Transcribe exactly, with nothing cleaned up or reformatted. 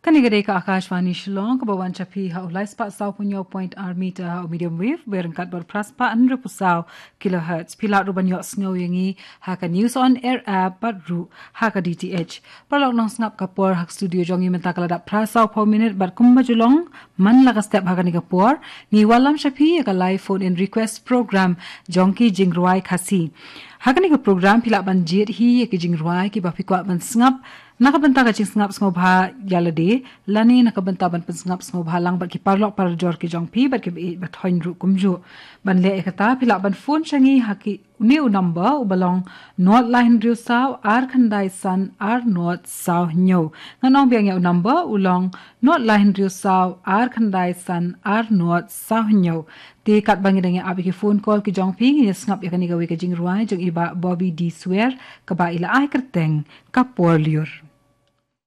Kane ka dei ka Akashvani Shillong, kaba wan sha phi ha u lai spah saw phew hynñiew point ar meter ha u medium wave, bad ryngkat bad phra spah hynriew phew saw kilohertz. Phi lah ruh ban ïohsngew ïa ngi ha ka News on Air app bad ruh ha ka D T H. Paralok nongsngap, ka por ha ka studio jong ngi mynta ka la dap phra saw phew minit bad kumba ju long man la ka step ha kane ka por, ngi wallam sha phi ïa ka live phone in request program jong ki jingrwai Khasi. Ha kane ka program phi lah ban jied hi ïa ki jingrwai kiba phi kwah ban sngap na ka bynta ka jingsngap sngewbha ïa lade, lane na ka bynta ban pynsngap sngewbha lang bad ki paralok parajor ki jong phi bad kiba ïeit ba thoiñ ruh kumjuh. Ban leh ïa kata phi lah ban phone sha ngi ha ki, une u number uba long nod lai hynriew saw ar khyndai san ar nod saw hynñiew. Ngan ong biang ïa u number, u long nod lai hynriew saw ar khyndai san ar nod saw hynñiew. Te katba ngi dang ïa ap ïa ki phone call ki jong phi, ngin ïa sngap ïa kane kawei ka jingrwai jong i Bah Bobby D Swer, kaba i la ai kyrteng Ka Por Lyiur.